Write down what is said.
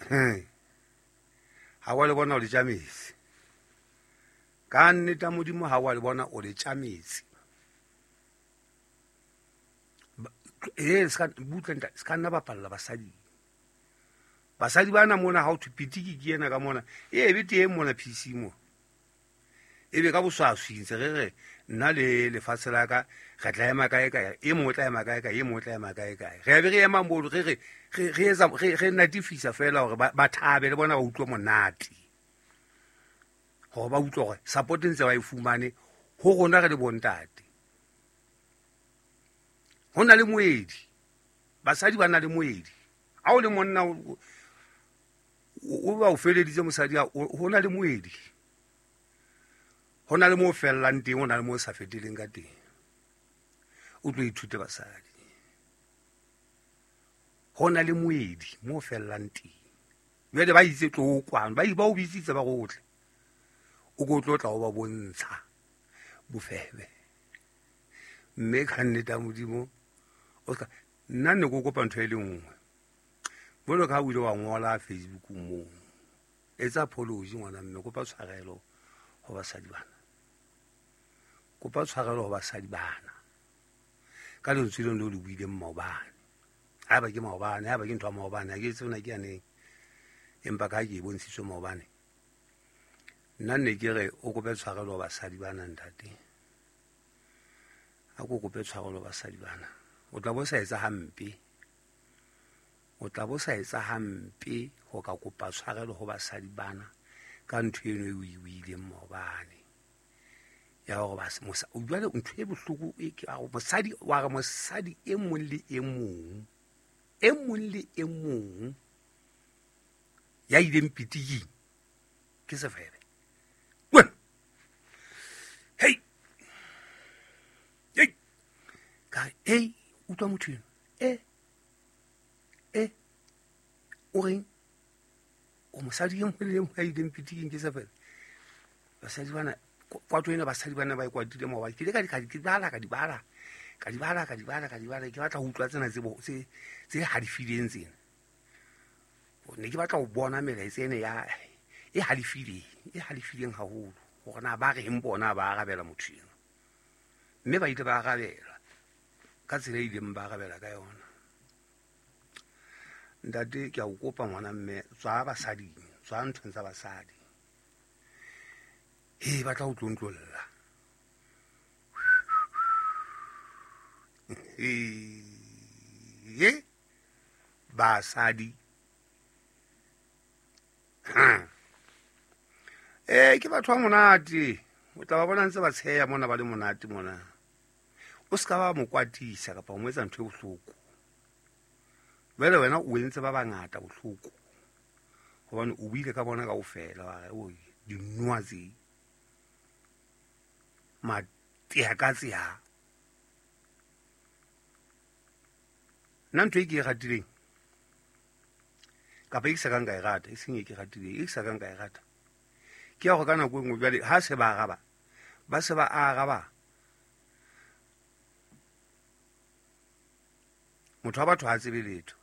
Ha wa le bona o le tja metsi. Ka nnete Modimo ha wa le bona o le tja metsi. E ska butle nta ska nna bapalla basadi. Basadi bana mona ha o thwe pitiki ke ena ka mona. E be teng mona PC mo. E be ka boswaswi ntse re re nna le lefatshe la ka re tla ema kae kae, e mong o tla ema kae kae, e mong o tla ema kae kae. Re be re ema moo re re re etsa re natifisa fela hore ba thabe le bona ba utlwe monate. Hore ba utlwe hore support ntse ba e fumane ho rona re le bontate. Ho na le moedi. Basadi ba na le moedi. Ha o le monna o ba o feleditse mosadi ho na le moedi. Ho na le mo fellang teng, ho na le mo sa feteleng ka teng. O tlo ithute basadi. Ho na le moedi mo fellang teng. Jwale ba itse tlo kwano, ba ba o bitsitse ba rotle. O ko tlo tla o ba bontsha bofebe. Mme ka nnete ya Modimo o ska nna ne ko kopa ntho e le nngwe. Jwalo ka ha o ile wa ngola Facebook moo. Etsa apology ngwana mme, kopa tshwarelo ho basadi bana. Kopa tshwarelo ho basadi bana. Ka lentswe leno leo le buileng maobane. Haeba ke maobane, haeba ke ntho ya maobane, ha ke tsebe na ke ya neng. Empa ka ha ke e bontshitswe maobane. Nna ne ke re o kope tshwarelo ho basadi bana ntate. A ko kope tshwarelo ho basadi bana. O tla bo sa etsa hampe. O tla bo sa etsa hampe ho ka kopa tshwarelo ho basadi bana ka ntho eno e o e buileng maobane. Ya hore jwale ntho e bohloko e ke a mosadi wa re mosadi e mong le e mong, e mong le e mong ya ileng pitiking ke sefebe. Wena. Hey. Hey. Ka re, hey, utlwa motho eno. E. E. O reng? O mosadi e mong le e mong ya ileng pitiking ke sefebe. Basadi bana kwato ena basadi bana ba e kwatile maobane. Ke ile ka di bala, ka di bala. Ka di bala, ka di bala, ka di bala. Ke batla ho utlwa tsena tse halefileng tsena. Ne ke batla ho bona melaetsa ena ya e halefileng, e halefileng haholo. Hore na ba reng bona ba arabela motho eno. Mme ba ile ba arabela ka tsela e ileng ba arabela ka yona. Ntate ke a o kopa ngwana mme, tswa basading, tswa nthong tsa basadi. He ba tla o tlontlolla. He basadi. Ke batho ba monate. O tla ba bona ntse ba tsheya mona ba le monate mona. O ska ba mo kwatisa kapa o mo etsa ntho e bohloko. Jwale wena o entse ba bangata bohloko. Hobane o buile ka bona kaofela wa re oi dinoa tse. Matea ka tseya. Nna ntho e ke e ratileng kapa e ke sa kang ka e rata, e seng e ke ratileng, e ke sa kang ka e rata. Ke ya hore ka nako e nngwe jwale ha se ba araba, ba se ba araba. Motho wa batho ha tsebe letho.